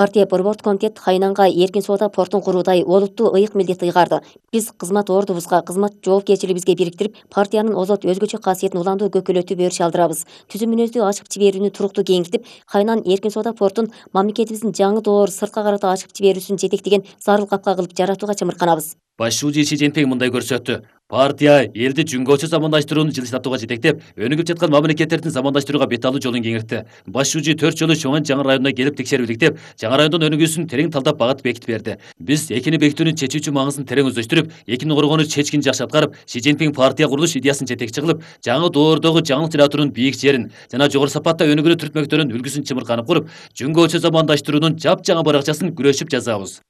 Партия борбордук комитет Хайнанга эркин соода портун куруудай олуттуу ыйык милдет ыйгарды. Биз кызмат ордубузга, кызмат жоопкерчилигибизге бириктирип, партиянын озот өзгөчө касиетин уламдуу көкөлөтүп өрүш алдырабыз. Түзүм мүнөздүү ачык жиберүүнү туруктуу кеңейтип, Хайнан эркин соода портун мамлекетибиздин жаңы доор сыртка карата ачык жиберүүсүн жетектеген зарыл капка кылып жаратууга чымырканабыз. Баш шүүжү Си Цзиньпин мындай көрсөттү. Партия элди жүнгөчө замандаштырууну жылыстатууга жетектеп, өнүгүп жаткан мамлекеттердин замандаштырууга бет алуу жолун кеңиртти. Баш шүүжү 4 жолу Чоңан жаңы районуна келип текшерип иликтеп, жаңы райондун өнүгүүсүн терең талдап багыт бекитип берди. Биз экини бекитүүнүн чечүүчү маңызын терең өздөштүрүп, экини коргоону чечкин жакшы аткарып, Си Цзиньпин партия курулуш идеясын жетекчи кылып, жаңы доордогу жаңылык жаратуунун бийик жерин жана жогору сапатта өнүгүүнү түртмөктөрүн үлгүсүн чымырканып куруп, жүнгөчө замандаштыруунун жапжаңа баракчасын күрөшүп жазабыз.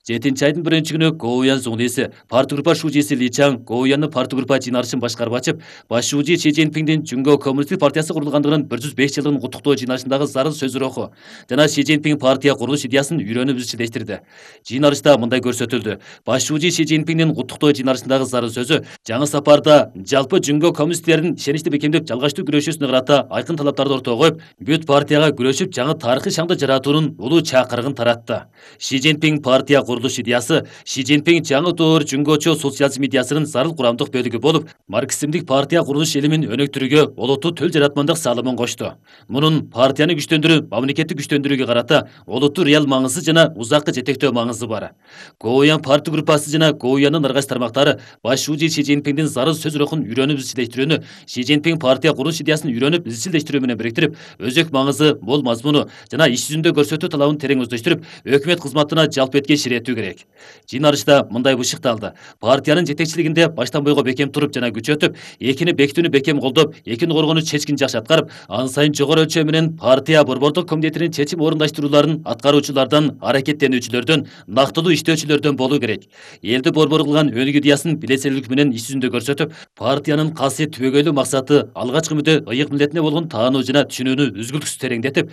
7 айдын 1-күнү Гоуян Зуңлиси, партгруппа шүүжиси Ли Чаң Гоуяндын партгруппа жыйналышын башкарып ачып, баш шүүжү Си Цзиньпиндин Жүнгө коммунисттик партиясы курулгандыгынын 105 жылдыгын куттуктоо жыйналышындагы зарыл сөзүр окуу жана Си Цзиньпин партия курулуш идеясын үйрөнүп изчилештирди. Жыйналышта мындай көрсөтүлдү. Баш шүүжү Си Цзиньпиндин куттуктоо жыйналышындагы зарыл сөзү жаңы сапарда жалпы Жүнгө коммунисттердин ишеничти бекемдеп жалгачтуу күрөшүүсүнө карата айкын талаптарды ортого коюп, бүт партияга күрөшүп жаңы тарыхый шаңды жаратуунун улуу чакырыгын таратты. Си Цзиньпин партия курулуш идеясы Си Цзиньпин жаңы доор жүнгөчө социализм идеясынын зарыл курамдык бөлүгү болуп, марксизмдик партия курулуш илимин өнүктүрүүгө олуттуу төл жаратмандык салымын кошту. Мунун партияны күчтөндүрүү, мамлекетти күчтөндүрүүгө карата олуттуу реал маңызы жана узакка жетектөө маңызы бар. Гоуян парты группасы жана Гоуяндын аргайч тармактары баш шүүжү Си Цзиньпиндин зарыл сөз рухун үйрөнүп изчилештирүүнү, Си Цзиньпин партия курулуш идеясын үйрөнүп изчилештирүү менен бириктирип, өзөк маңызы, мол мазмуну жана иш жүзүндө көрсөтүү талабын терең өздөштүрүп, өкмөт кызматына жалп этке ширетүү керек. Жыйналышта мындай бышыкталды. Партиянын жетекчилигинде баштан бойго бекем туруп жана күч өтүп, экини бекитүүнү бекем колдоп, экини коргоону чечкин жакшы аткарып, ан сайын жогору өлчөм менен партия борбордук комитетинин чечим орундаштырууларын аткаруучулардан, аракеттенүүчүлөрдөн, нактылуу иштөөчүлөрдөн болуу керек. Элди борбор кылган өнүгүү идеясын билесерлик менен иш жүзүндө көрсөтүп, партиянын касиет түбөгөйлүү максаты алгачкы мүдө ыйык милдетине болгон таануу жана түшүнүүнү үзгүлтүксүз тереңдетип,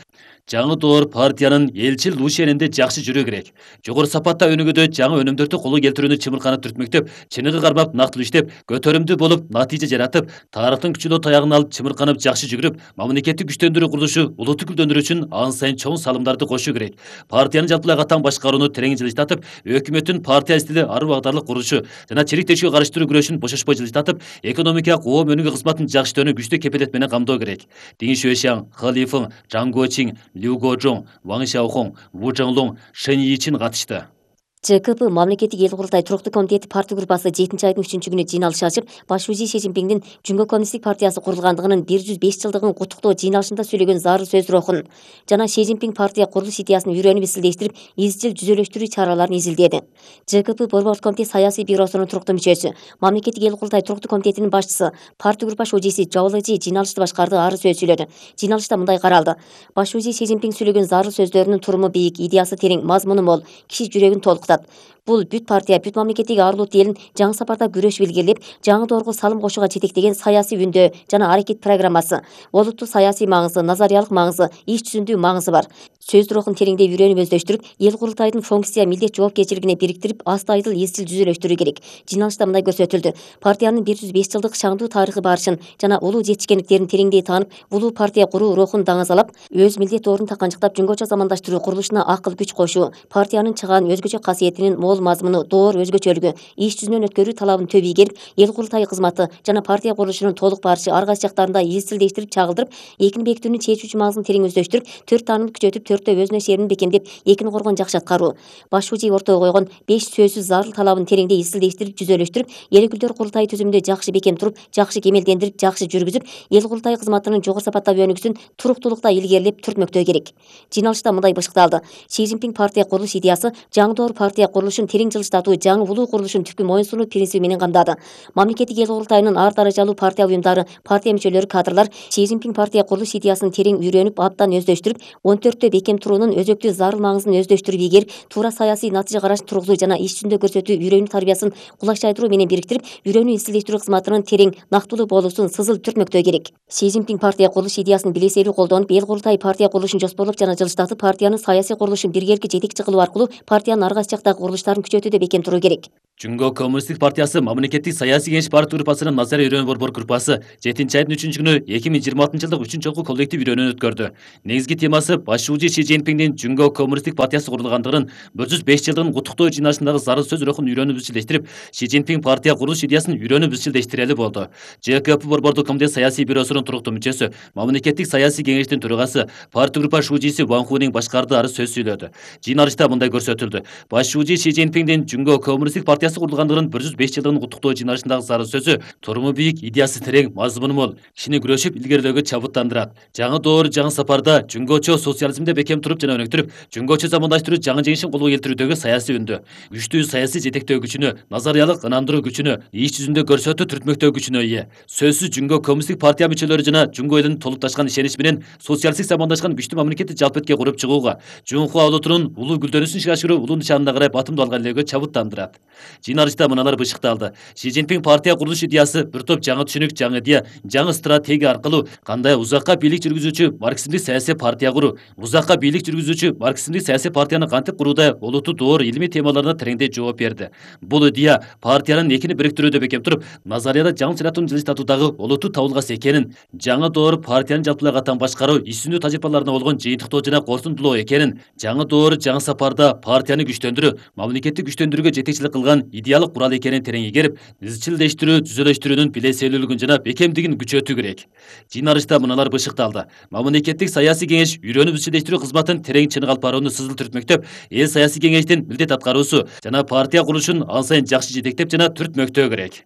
жаңы доор партиянын элчил ушенинде жакшы жүрүү керек. Жогору сапатта өнүгүүдө жаңы өнүмдөрдү колго келтирүүнү чымырканып түртмөктөп, чыныгы кармап нактылуу иштеп, көтөрүмдүү болуп, натыйжа жаратып, тарыхтын күчүлүү таягын алып чымырканып жакшы жүгүрүп, мамлекетти күчтөндүрүү курулушу улутту гүлдөндүрүү үчүн ан сайын чоң салымдарды кошуу керек. Партиянын жалпылай катаң башкарууну терең жылыштатып, өкмөттүн партия стили ары багдарлык курулушу жана чирик тешүүгө каршы туруу күрөшүн бошошпой жылыштатып, экономикалык коом өнүгүү кызматын жакшыртууну күчтүү кепилет менен камдоо керек. Дин Шуэшян, Хэ Лифeng, Чжан Гочиң, Лю Гожоң, Ваң Шаохоң, Ву Чжэнлоң, Шэн Йичин катышты. ЖКП мамлекеттик эл курултай туруктуу комитети парты группасы 7-айдын 3-күнү жыйналыш ачып, баш шүүжү Си Цзиньпиндин Жүнгө коммунисттик партиясы курулгандыгынын 105 жылдыгын куттуктоо жыйналышында сүйлөгөн зарыл сөз рухун жана Си Цзиньпин партия курулуш идеясын үйрөнүп изчилештирип, изчил жүзөлөштүрүү чараларын изилдеди. ЖКП борбордук комитет саясий бюросунун туруктуу мүчөсү, мамлекеттик эл курултай туруктуу комитетинин башчысы, парты группа шүүжиси Жаолэжи жыйналышты башкарды, ары сөз сүйлөдү. Жыйналышта мындай каралды. Баш шүүжү Си Цзиньпин сүйлөгөн зарыл сөздөрүнүн туруму бийик, идеясы терең, мазмуну мол, киши жүрөгүн толкутат. Бул бүт партия, бүт мамлекеттеги арлуу элин жаңы сапарда күрөшүп илгерилеп, жаңы доорго салым кошууга жетектеген саясий үндөө жана аракет программасы, олуттуу саясий маңызы, назариялык маңызы, иш жүзүндүү маңызы бар. Сөз рухун тереңдей үйрөнүп өздөштүрүп, эл курултайдын функция, милдет жоопкерчилигине бириктирип, астайдыл изчил жүзөлөштүрүү керек. Жыйналышта мындай көрсөтүлдү. Партиянын 105 жылдык шаңдуу тарыхы барышын жана улуу жетишкендиктерин тереңдей таанып, улуу партия куруу рухун даңазалап, өз милдет ордун таканчыктап, жүнгөчө замандаштыруу курулушуна акыл күч кошуу, партиянын чыгаан өзгөчө касиетинин мол мазмуну, доор өзгөчөлүгү, иш жүзүнөн өткөрүү талабын төп ийгерип, эл курултайы кызматы жана партия курулушунун толук барышы ар кайсы жактарында изчилдештирип, чагылдырып, экини бекитүүнүн чечүүчү маңызын терең өздөштүрүп, 4 таанымды күчөтүп, 4тө өзүнө шерин бекемдеп, экини коргоон жакшы аткаруу. Баш шүүжү ортого койгон 5 сөзсүз зарыл талабын тереңдей изчилдештирип, жүзөлөштүрүп, эл өкүлдөрү курултай түзүмүндө жакшы бекем туруп, жакшы кемелдендирип, жакшы жүргүзүп, эл курултайы кызматынын жогору сапаттагы өнүгүүсүн туруктуулукта илгерилеп, түртмөктөө керек. Жыйналышта мындай бышыкталды. Си Цзиньпин партия курулуш идеясы жаңы доор партия курулушун терең жылыштатуу, жаңы улуу курулушун түпкү моюн сунуу принциби менен камдады. Мамлекеттик эл курултайынын ар даражалуу партия уюмдары, партия мүчөлөрү, кадрлар Си Цзиньпин партия курулуш идеясын терең үйрөнүп, абдан өздөштүрүп, 14тө бекем туруунун өзөктүү зарыл маңызын өздөштүрүп ийгерип, туура саясий натыйжа караш тургузуу жана иш жүзүндө көрсөтүү үйрөнүү тарбиясын кулачтайдыруу менен бириктирип, үйрөнүү изчилдештирүү кызматынын терең, нактылуу болуусун сызыл түртмөктөө керек. Си Цзиньпин партия курулуш идеясын билеселүү колдонуп, эл курултайы партия курулушун жоспорлоп жана жылыштатып, партиянын саясий курулушун биргеликке жетекчи кылуу аркылуу партиянын ар кайсы жактагы курулуштарын күчөтүүдө бекем туруу керек. Жөнгө коммунисттик партиясы мамлекеттик саясий кеңеш партия группасынын назарий үйрөнүү борбор группасы 7 айдын 3-күнү 2026 жылдык 3-жолку коллектив үйрөнүүнү өткөрдү. Негизги темасы башчы Си Цзиньпиндин Жөнгө коммунисттик партиясы курулгандыгынын 105 жылдыгын куттуктоо жыйналышындагы зарыл сөз рухун үйрөнүп изчилдештирип, Си Цзиньпин партия курулуш идеясын үйрөнүп изчилдештирели болду. ЖКП борбордук комитет саясий бюросунун туруктуу мүчөсү, мамлекеттик саясий кеңештин төрагасы, партия группа шужиси Ван Хунин башкарды ары сөз сүйлөдү. Жыйналышта мындай көрсөтүлдү. Башчы Си Цзиньпиндин Жөнгө коммунисттик партиясы курулгандыгынын 105 жылдыгын куттуктоо жыйналышындагы зарыл сөзү туруму бийик, идеясы терең, мазмуну мол, кишини күрөшүп илгерилөөгө чабыттандырат. Жаңы доор, жаңы сапарда жөнгөчө социализмде бекем туруп жана өнүктүрүп, жөнгөчө замандаштыруу жаңы жеңишин колго келтирүүдөгү саясий үндү, күчтүү саясий жетектөө күчүнө, назариялык ынандыруу күчүнө, иш жүзүндө көрсөтүү түртмөктөө күчүнө ээ. Сөзсүз Жөнгө коммунисттик партия мүчөлөрү жана жөнгө элинин толукташкан ишенич менен социалисттик замандашкан күчтүү мамлекетти жалпы куруп чыгууга, Жунхуа улутунун улуу гүлдөнүүсүн ишке ашыруу улуу нишанына карай батымдуу алган элөөгө чабыттандырат. Жыйналышта мыналар бышыкталды. Си Цзиньпин партия курулуш идеясы бир топ жаңы түшүнүк, жаңы идея, жаңы стратегия аркылуу кандай узакка бийлик жүргүзүүчү марксизмдик саясий партия куруу, узакка бийлик жүргүзүүчү марксизмдик саясий партияны кантип курууда олуттуу доор илимий темаларына тереңдей жооп берди. Бул идея партиянын экини бириктирүүдө бекем туруп, назарияда жаңы чыратууну жылыштатуудагы олуттуу табылгас экенин, жаңы доор партиянын жалпылай катан башкаруу, иш жүзүндүү тажрыйбаларына болгон жыйынтыктоо жана корсунтулоо экенин, жаңы доор, жаңы сапарда партияны күчтөндүрүү, мамлекетти күчтөндүрүүгө жетекчилик кылган идеалык курал экенин терең игерип, изчилдештирүү, түзөлөштүрүүнүн билеселүүлүгүн жана бекемдигин күчөтүү керек. Жыйналышта мыналар бышыкталды. Мамлекеттик саясий кеңеш үйрөнүп изчилдештирүү кызматын терең чыныгы алып барууну сызыл түртмөктөп, эл саясий кеңештин милдет аткаруусу жана партия курулушун ан сайын жакшы жетектеп жана түртмөктөө керек.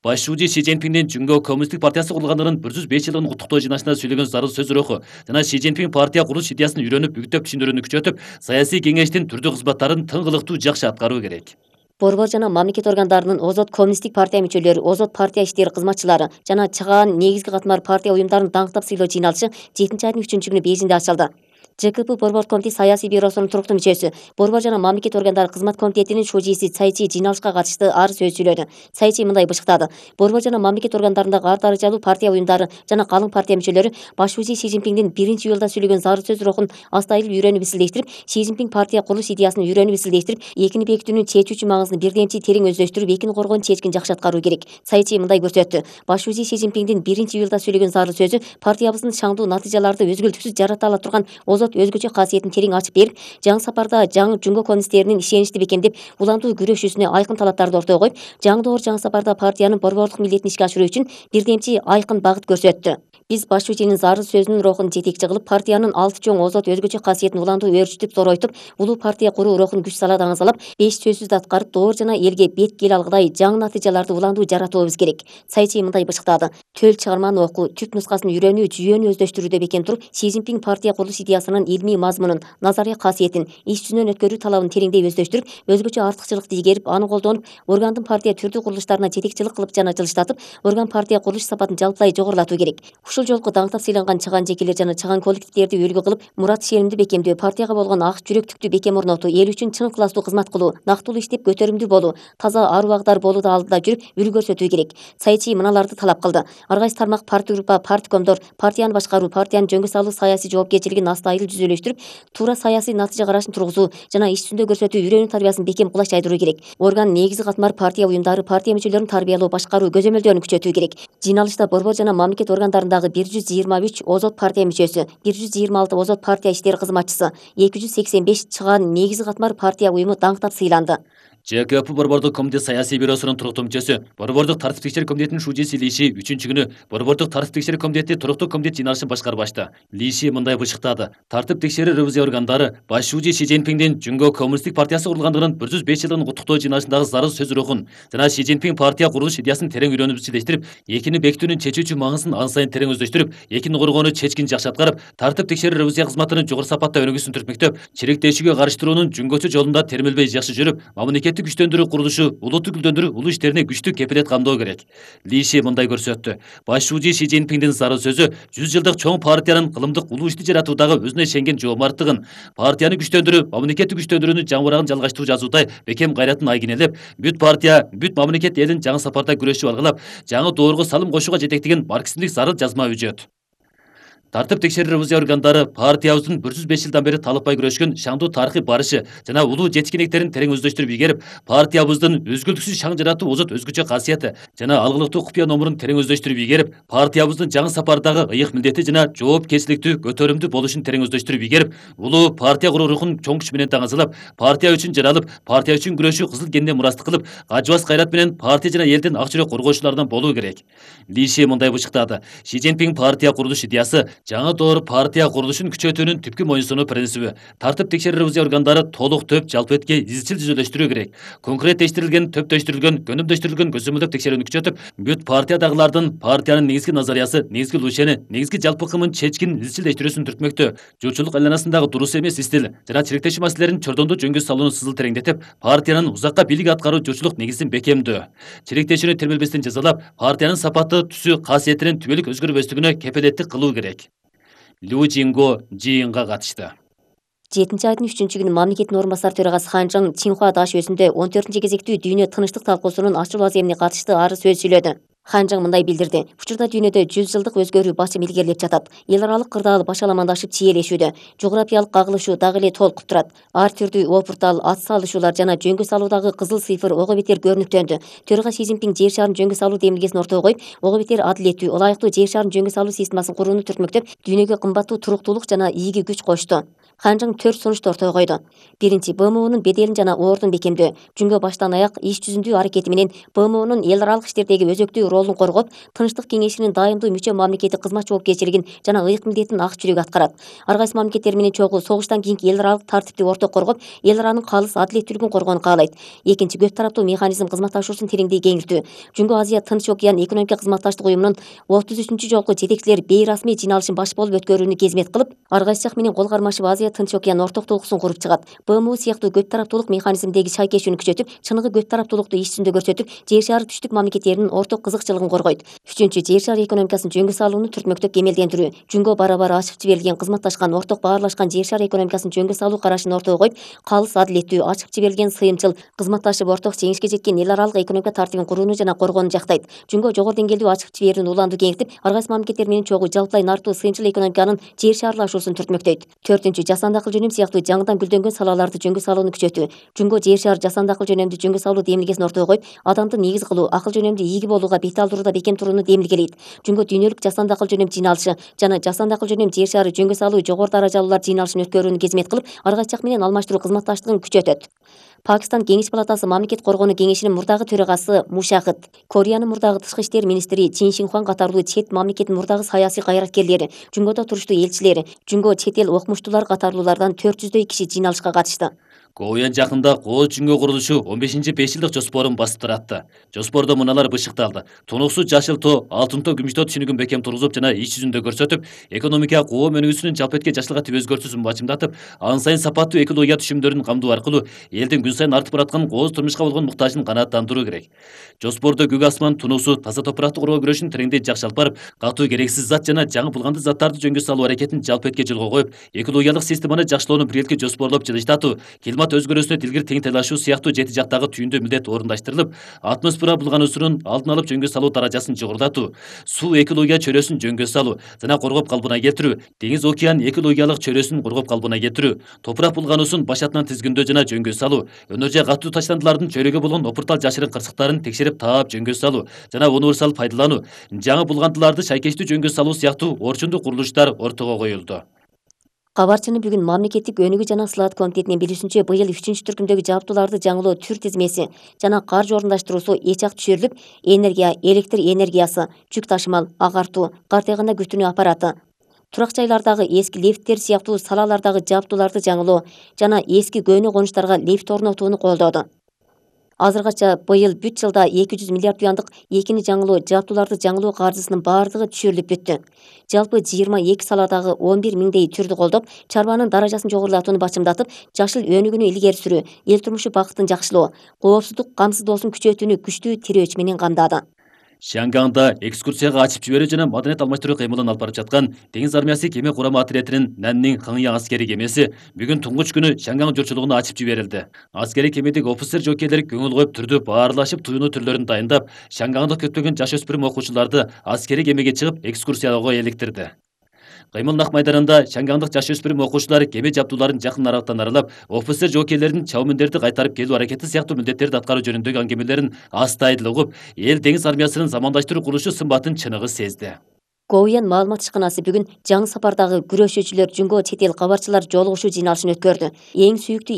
Башчы Си Цзиньпиндин Жөнгө коммунисттик партиясы курулгандыгынын 105 жылдыгын куттуктоо жыйналышында сөйлөгөн зарыл сөз руху жана Си Цзиньпин партия курулуш идеясын үйрөнүп, үгүттөп түшүндүрүүнү күчөтүп, саясий кеңештин түрдүү кызматтарын тыңгылыктуу жакшы аткаруу керек. Борбор жана мамлекет органдарынын озот коммунисттик партия мүчөлөрү, озот партия иштери кызматчылары жана чыгаан негизги катмар партия уюмдарын даңктап сыйлоо жыйналышы 7-айдын 3-күнү Бейжиңде ачылды. ЖКП борбор комитет саясий бюросунун туруктуу мүчөсү, борбор жана мамлекет органдары кызмат комитетинин шужиси Цайчи жыйналышка катышты ары сөз сүйлөдү. Цайчи мындай бышыктады. Борбор жана мамлекет органдарындагы ар даражалуу партия уюмдары жана калың партия мүчөлөрү башчы Си Цзиньпиндин 1-июлда сүйлөгөн зарыл сөз рухун астайыл үйрөнүп изилдештирип, Си Цзиньпин партия курулуш идеясын үйрөнүп изилдештирип, экини бекитүүнүн чечүүчү маңызын бирдемчи терең өздөштүрүп, экини коргоонун чечкин жакшы аткаруу керек. Цайчи мындай көрсөттү. Башчы Си Цзиньпиндин 1-июлда сүйлөгөн зарыл сөзү партиябыздын шаңдуу натыйжаларды өзгөлтүксүз жарата ала турган озот өзгөчө касиетин терең ачып берип, жаңы сапарда жаңы жөнгө коммунисттеринин ишеничти бекемдеп, уландуу күрөшүүсүнө айкын талаптарды ортого коюп, жаңы доор, жаңы сапарда партиянын борборлук милдетин ишке ашыруу үчүн бирдемчи айкын багыт көрсөттү. Биз башчынын зарыл сөзүнүн рухун жетекчи кылып, партиянын 6 чоң озот өзгөчө касиетин уландуу өөрчүтүп, зоройтуп, улуу партия куруу рухун күч сала даңазалап, 5 сөзсүздү аткарып, доор жана элге бет кел алгыдай жаңы натыйжаларды уландуу жаратуубуз керек. Цайчи мындай бышыктады. Төл чыгарманы окуу, түп нускасын үйрөнүү, жүйөнү өздөштүрүүдө бекем туруп, Си Цзиньпин партия курулуш идеясынын илмий мазмунун, назария касиетин, иш жүзүнөн өткөрүү талабын тереңдей өздөштүрүп, өзгөчө артыкчылыкты игерип, аны колдонуп, органдын партия түрдүү курулуштарына жетекчилик кылып жана жылыштатып, орган партия курулуш сапатын жалпылай жогорулатуу керек. Ушул жолку даңктап сыйланган чыгаан жекелер жана чыгаан коллективдерди үлгү кылып, мурат ишенимди бекемдөө, партияга болгон ак жүрөктүктү бекем орнотуу, эл үчүн чын ыкыластуу кызмат кылуу, нактылуу иштеп көтөрүмдүү болуу, таза аруу агдар болууда алдыда жүрүп, үлгү көрсөтүү керек. Цайчи мыналарды талап кылды. Ар кайсы тармак партия группа, парткомдор партияны башкаруу, партиянын жөнгө салуу саясий жоопкерчилигин астайыл түзөлөштүрүп, туура саясий натыйжа карашын тургузуу жана иш жүзүндө көрсөтүү үйрөнүү тарбиясын бекем кулаш жайдыруу керек. Орган негизи катмар партия уюмдары, партия мүчөлөрүн тарбиялоо, башкаруу, көзөмөлдөөнү күчөтүү керек. Жыйналышта борбор жана мамлекет органдарындагы 123 озот партия мүчөсү, 126 озот партия иштери кызматчысы, 285 чыгаан негизи катмар партия уюму даңктап сыйланды. ЖКП борбордук комитет саясий бюросунун туруктуу мүчөсү, борбордук тартип текшерүү комитетинин шужиси Ли Ши 3-күнү борбордук тартип текшерүү комитети туруктуу комитет жыйналышын башкарып ачты. Ли Ши мындай бышыктады. Тартип текшерүү ревизия органдары башчы Си Цзиньпиндин Жөнгө коммунисттик партиясы курулгандыгынын 105 жылдыгын куттуктоо жыйналышындагы зарыл сөз рухун жана Си Цзиньпин партия курулуш идеясын терең үйрөнүп изчилдештирип, экини бекитүүнүн чечүүчү маңызын ан сайын терең өздөштүрүп, экини коргоону чечкин жакшы аткарып, тартип текшерүү ревизия кызматынын жогору сапатта өнүгүүсүн түртмөктөп, чиректешүүгө карыштыруунун жөнгөчө жолунда термелбей жакшы жүрүп, мамлекетти күчтөндүрүү курулушу, улутту гүлдөндүрүү улуу иштерине күчтүү кепилет камдоо керек. Ли Ши мындай көрсөттү. Башчы Си Цзиньпиндин зарыл сөзү 100 жылдык чоң партиянын кылымдык улуу ишти жаратуудагы өзүнө ишенген жоомарттыгын, партияны күчтөндүрүү, мамлекетти күчтөндүрүүнүн жаңырагын жалгаштыруу жазуудай бекем кайратын айгинелеп, бүт партия, бүт мамлекет элин жаңы сапарда күрөшүп алгылап, жаңы доорго салым кошууга жетектеген марксизмдик зарыл жазма үжөт. Тартып текшерүү ревизия органдары партиябыздын 105 жылдан бери талыкпай күрөшкөн шаңдуу тарыхый барышы жана улуу жеткиндиктерин терең өздөштүрүп ийгерип, партиябыздын үзгүлтүксүз шаң жаратуу озот өзгөчө касияти жана алгылыктуу купуя номурун терең өздөштүрүп ийгерип, партиябыздын жаңы сапардагы ыйык милдети жана жоопкерчиликтүү, көтөрүмдүү болушун терең өздөштүрүп ийгерип, улуу партия куруу рухун чоң күч менен таңазалап, партия үчүн жаралып, партия үчүн күрөшүү кызыл кенинен мурастык кылып, кажыбас кайрат менен партия жана элдин ак жүрөк коргоочуларынан болуу керек. Ли Ши мындай бышыктады: Ши Цзиньпин партия курулуш идеясы жаңы доор партия курулушун күчөтүүнүн түпкү моюнсунуу принциби. Тартып текшерүү ревизия органдары толук төп жалпы этке изчил жүзөлөштүрүү керек. Конкреттештирилген, төптөштүрүлгөн, көнүмдөштүрүлгөн көзөмөлдөп текшерүүнү күчөтүп, бүт партиядагылардын партиянын негизги назариясы, негизги лучени, негизги жалпы ыкымын чечкин изчилдештирүүсүн түртмөктө. Журтчулук айланасындагы дурус эмес стиль жана чириктешүү маселелерин чордондо жөнгө салууну сызыл тереңдетип, партиянын узакка бийлик аткаруу журтчулук негизин бекемдөө. Чириктешүүнү термелбестен жазалап, партиянын сапаты, түсү, касиетинин түбөлүк өзгөрбөстүгүнө кепилеттик кылуу керек. Лю Жинго жыйынга катышты. 7 айдын 3-күнү мамлекеттин орун басары төрагасы Хан Чжың Цинхуа Даш өзүндө 14 кезектүү дүйнө тынчтык талкуусунун ачылуу аземине катышты ары сөз сүйлөдү. Хан Чжың мындай билдирди: Учурда дүйнөдө 100 жылдык өзгөрүү басым илгерилеп жатат. Эл аралык кырдаал башаламандашып чиелешүүдө. Жографиялык кагылышуу дагы эле толкуп турат. Ар түрдүү опуртал, ат салышуулар жана жөнгө салуудагы кызыл цифр ого бетер көрүнүктөндү. Төрага Си Цзиньпин жер шарын жөнгө салуу демилгесин ортого коюп, ого бетер адилеттүү, ылайыктуу жер шарын жөнгө салуу системасын курууну түртмөктөп, дүйнөгө кымбаттуу туруктуулук жана ийги күч кошту. Хан Чжың 4 сунушту ортого койду. Биринчи, БМУнун беделин жана ордун бекемдөө. Жүнгө баштан аяк иш жүзүндүү аракети менен БМУнун эл аралык иштердеги өзөктүү ролун коргоп, Тынчтык кеңешинин дайымдуу мүчө мамлекети кызмат жоопкерчилигин жана ыйык милдетин ак жүрөк аткарат. Ар кайсы мамлекеттер менен чогуу согуштан кийинки эл аралык тартипти ортого коргоп, эл аранын калыс адилеттүүлүгүн коргоону каалайт. Экинчи, көп тараптуу механизм кызматташуусун тереңдей кеңиртүү. Жүнгө Азия Тынч океан экономика кызматташтык уюмунун 33 жолку жетекчилер бейрасмий жыйналышын баш болуп өткөрүүнү кезмет кылып, ар кайсы жак менен кол кармашып Азия Тынч океан ортоктуулуксун куруп чыгат. БМУ сыяктуу көп тараптуулук механизмдеги шайкешүүнү күчөтүп, чыныгы көп тараптуулукту иш жүзүндө көрсөтүп, жер шары түштүк мамлекеттеринин орток кызыкчылыгын коргойт. Үчүнчү, жер шары экономикасын жөнгө салууну түртмөктөп кемелдендирүү. Жүнгө бара-бара ачып жиберилген, кызматташкан, орток баарлашкан жер шары экономикасын жөнгө салуу карашын ортого коюп, калыс адилеттүү, ачып жиберилген, сыйымчыл, кызматташып орток жеңишке жеткен эл аралык экономика тартибин курууну жана коргоону жактайт. Жүнгө жогору деңгээлдүү ачып жиберүүнү уланду кеңиртип, ар кайсы мамлекеттер менен чогуу жалпылай нартуу сыйымчыл экономиканын жер шаарлашуусун түртмөктөйт. Төртүнчү, жасанды акыл жөнөм сыяктуу жаңыдан гүлдөнгөн салаларды жөнгө салууну күчөтүү. Жүнгө жер шары жасанды акыл жөнөмдү жөнгө салуу демилгесин ортого коюп, адамды негиз кылуу, акыл жөнөмдү ийги болууга бет алдырууда бекем турууну демилгелейт. Жүнгө дүйнөлүк жасанды акыл жөнөм жыйналышы жана жасанды акыл жөнөм жер шары жөнгө салуу жогору даражалуулар жыйналышын өткөрүүнү кезмет кылып, ар кайсы жак менен алмаштыруу кызматташтыгын күчөтөт. Пакистан Кеңеш палатасы Мамлекет коргонуу кеңешинин мурдагы төрагасы Мушахид, Кореянын мурдагы тышкы иштер министри Чин Шинхуан катарлуу чет мамлекеттин мурдагы саясий кайраткерлери, Жүнгөдө туруштуу элчилери, Жүнгө чет эл окумуштуулар катарлуулардан 400дөй киши жыйналышка катышты. Коуян жакында Кооз Жүнгө курулушу 15 5 жылдык жоспорун басып туратты. Жоспордо мыналар бышыкталды: тунуксу жашыл тоо, алтын тоо, күмүш тоо түшүнүгүн бекем тургузуп жана иш жүзүндө көрсөтүп, экономика коо өнүгүүсүнүн жалпы этке жашылгатып өзгөртүүсүн бачымдатып, ан сайын сапаттуу экология түшүмдөрүн камдоо аркылуу элдин күн сайын артып бараткан кооз турмушка болгон муктажын канааттандыруу керек. Жоспордо көк асман, тунуксу, таза топуракты коргоо күрөшүн тереңдей жакшы алып барып, катуу керексиз зат жана жаңы булгандуу заттарды жөнгө салуу аракетин жалпы этке жолго коюп, экологиялык системаны жакшылоону биргеликте жоспорлоп жылыштатуу, климат өзгөрүүсүнө тилгир тең тайлашуу сыяктуу 7 жактагы түйүндүү милдет орундаштырылып, атмосфера булгануусунун алдын алып жөнгө салуу даражасын жогорулатуу, суу экология чөйрөсүн жөнгө салуу жана коргоп калпына келтирүү, деңиз океан экологиялык чөйрөсүн коргоп калпына келтирүү, топурак булгануусун башатынан тизгиндөө жана жөнгө салуу, өнөр жай катуу таштандылардын чөйрөгө болгон опуртал жашырын кырсыктарын текшерип таап жөнгө салуу жана универсал пайдалануу, жаңы булгандыларды шайкештүү жөнгө салуу сыяктуу орчундуу курулуштар ортого коюлду. Кабарчыны бүгүн мамлекеттик өнүгүү жана сылаат комитетинин билүүсүнчө, быйыл 3-түркүмдөгү жабдууларды жаңылоо түр тизмеси жана каржы орундаштыруусу эч ак түшүрүлүп, энергия, электр энергиясы, жүк ташымал, агартуу, кар тыйганда күтүнүү аппараты, турак жайлардагы эски лифттер сыяктуу салалардагы жабдууларды жаңылоо жана эски көөнө конуштарга лифт орнотууну колдоду. Азыргача быйыл бүт жылда 200 миллиард юандык экини жаңылоо жабдууларды жаңылоо каржысынын баардыгы түшүрүлүп бүттү. Жалпы 22 саладагы 11 миңдей түрдү колдоп, чарбанын даражасын жогорулатууну бачымдатып, жашыл өнүгүүнү илгери сүрүү, эл турмушу бакытын жакшылоо, коопсуздук камсыздоосун күчөтүүнү күчтүү тирөөч менен камдады. Шанганда экскурсияга ачып жиберүү жана маданият алмаштыруу кыймылын алып барып жаткан Деңиз армиясы кеме курама отрядынын Наннин Хаңя аскери кемеси бүгүн туңгуч күнү Шанган журтчулугуна ачып жиберилди. Аскери кемедеги офицер жокейлер көңүл коюп түрдүү баарлашып, туюну түрлөрүн дайындап, Шангандык көптөгөн жаш өспүрүм окуучуларды аскери кемеге чыгып экскурсияга эликтирди. Кыймылдак майданында шаңгаңдык жаш өспүрүм окуучулар кеме жабдууларын жакын аралыктан аралап, офицер жоокейлердин чабымындерди кайтарып келүү аракети сыяктуу милдеттерди аткаруу жөнүндөгү аңгемелерин астайдыл угуп, эл деңиз армиясынын замандаштыруу курулушу сымбатын чыныгы сезди. Говуян маалымат ишканасы бүгүн жаңы сапардагы күрөшүүчүлөр Жумго чет эл кабарчылар жолугушуу жыйналышын өткөрдү. Эң сүйүктүү